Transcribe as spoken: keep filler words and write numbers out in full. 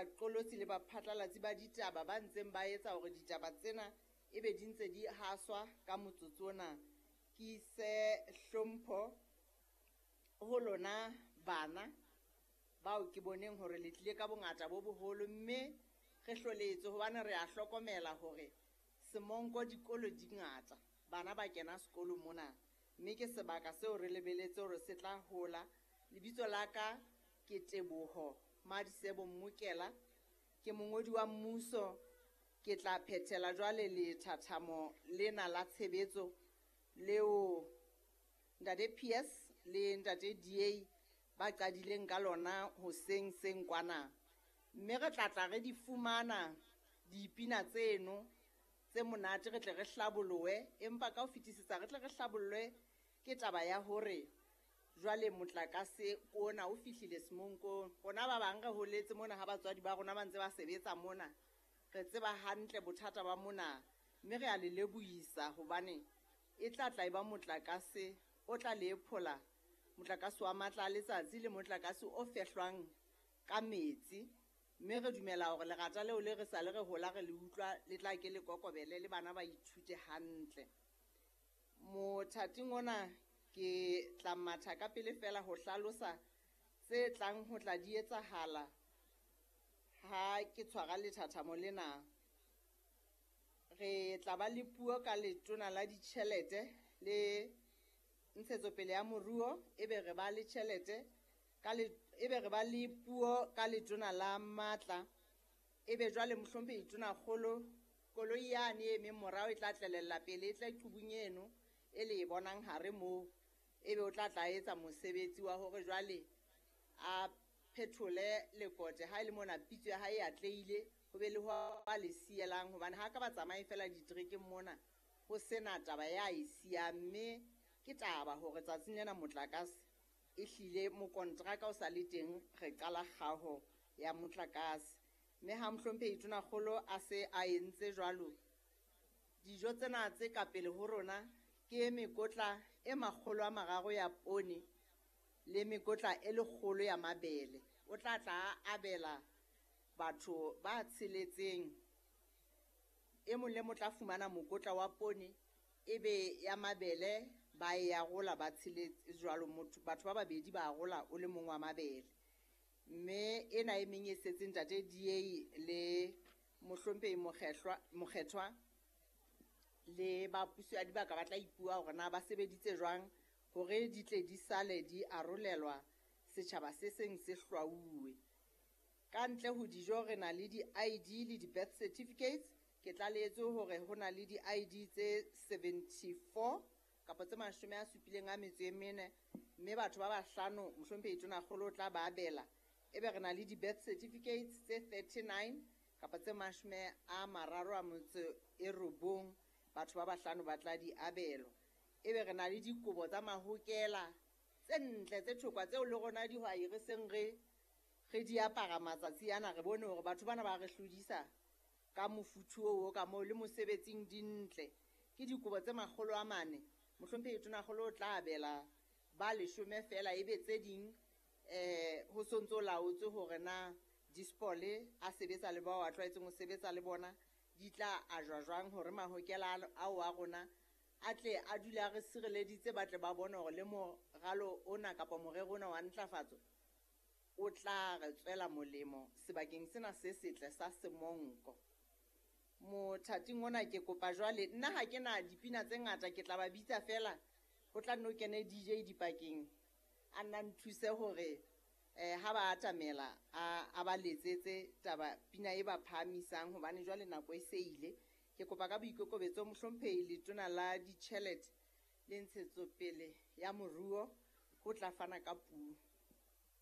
baqolotsi le baphatlalatsi ba ditaba ba ntseng ba etsa hore ditaba tsena ebe di ntse di haswa ka motsotso ona. Ke ise hlompho ho lona bana bao ke boneng hore le tlile ka bongata bo boholo, mme re hloletswe hobane re a hlokomela hore Semonko dikolo di ngata, bana ba kena sekolo mona, mme ke sebaka seo re lebeletse hore se tla hola. Lebitso la ka ke Teboho Madisebo Mmokela, ke mongodi wa mmuso. Ke tla phethela jwale lethathamo lena la tshebetso leo Ntate P S le Ntate D A ba qadileng ka lona hoseng seng kwana, mme re tla tla re di fumana dipina tseno tse monate, re tle re hlabolohe, empa ka ho fetisetsa re tle re hlabollwe ke taba ya hore jwale motlakase ona o fihlile Semonkong. Rona ba bang re holetse mona ha batswadi ba rona ba ntse ba sebetsa mona, re tseba hantle bothata ba mona, mme re a le lebohisa hobane e tla tla e ba motlakase o tla le phola, motlakase wa matla a letsatsi le motlakase o fehlwang ka metsi. Mme re dumela hore lerata leo le re sa le re hola re le utlwa le tla ke le kokobele le bana ba ithute hantle. Mothating ona ke tla matha ka pele fela ho hlalosa tse tlang ho tla di etsahala ha ke tshwara lethathamo lena. Re tla ba le puo ka letona la ditjhelete le ntshetsopele ya moruo, ebe re ba le tjhelete ka le, ebe re ba le puo ka letona la matla, ebe jwale mohlomphehi Tonakgolo koloi yane e emeng morao e tla tlelella pele, e tla qubung eno e le e bonang hare moo, ebe o tla tla etsa mosebetsi wa hore jwale a phethole lekote. Ha e le mona pitso ya hae e atlehile, ho be le ho a le sielang, hobane ha ka ba tsamaye fela diterekeng mona ho sena taba ya e siyang. Mme ke taba hore tsatsing lena motlakase ehlile mokontraka o sa le teng, re qala kgaho ya motlakase. Mme ha mohlomphehi Tonakgolo a se a entse jwalo, dijo tsena tse ka pele ho rona ke mekotla e makgolo a mararo ya poone le mekotla e lekgolo ya mabele. O tla tla a abela batho ba tsheletseng, e mong le mong tla fumana mokotla wa poone, ebe ya mabele ba e arola ba tsheletse jwalo, motho, batho ba babedi ba arola o le mong wa mabele. Mme ena e meng e setseng Ntate D A le mohlomphehi Mokgehlwa, Mokgethwa le ba puso ya dibaka ba tla ipua hore na ba sebeditse jwang hore di tle di sale di arolelwa setjhaba se seng se hlwauwe. Ka ntle ho dijo re na le di-I D le di-birth certificates. Ke tlalehetswe hore ho na le di-I D tse seventy-four kapa tse mashome a supileng a metso e mene, mme batho ba bahlano mohlomphehi Tonakgolo o tla ba abela. Ebe re na le di-birth certificates tse thirty-nine kapa tse mashome a mararo a motso e robong, batho ba bahlano ba tla di abelwa. Ebe re na le dikobo tsa mahokela tse ntle tse thokwa tseo le rona dihwai re seng re, re di apara matsatsi ana, re bone hore batho bana ba re hlodisa ka mofuthu oo ka moo le mosebetsing di ntle. Ke dikobo tse makgolo a mane, mohlomphehi Tonakgolo o tla abela ba leshome fela, ebe tse ding eh ho sontso laotswe hore na dispole a sebetsa le bao a tlwaetseng ho sebetsa le bona di tla ajwa jwang hore mahokela ao a rona a tle a dule a re sireleditse, ba tle ba bone hore le moralo ona kapa morero ona wa ntlafatso o tla re tswela molemo sebakeng sena se setle sa Semonko. Mothating ona ke kopa jwale, nna ha ke na dipina tse ngata, ke tla ba bitsa fela, ho tla nno kene D J dipakeng a nna nthuse hore eh ha ba atamela a, a ba letsetse taba pina e ba phahamisang, hobane jwale nako e se ile. Ke kopa ka boikokobetso mohlomphehi Letona la Ditjhelete le Ntshetsopele ya Moruo ho tla fana ka puo.